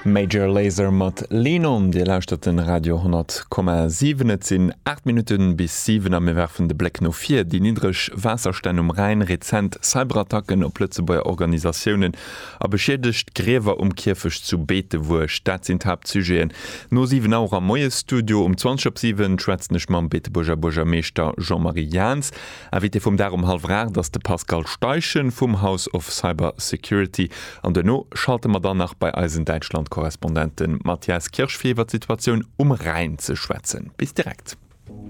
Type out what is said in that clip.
Major Lazer mat Lean On. Dir lauschtert den Radio 100,7. Et sinn 8 Minutten bis 7 a mir werfen de Bléck no vir. Déi niddreg Waasserstänn um Rhäin, rezent Cyberattacken op Lëtzebuerger Organisatiounen a beschiedegt Griewer um Kierfecht zu Beetebuerg, dat sinn d'Haaptsujeten no 7 Auer am Moiesstudio. Um 20 op 7 schwätzen ech mam Beetebuerger Buergermeeschter Jean-Marie Jahns. Invité vum Dag um hallwer 8 ass de Pascal Steichen vum House of Cyber Security. An duerno schalte mer dann nach bei eisen Däitschland-Korrespondent de Matthias Kirsch fir iwwer d'Situatioun um Rhäin ze schwätzen. Bis direkt.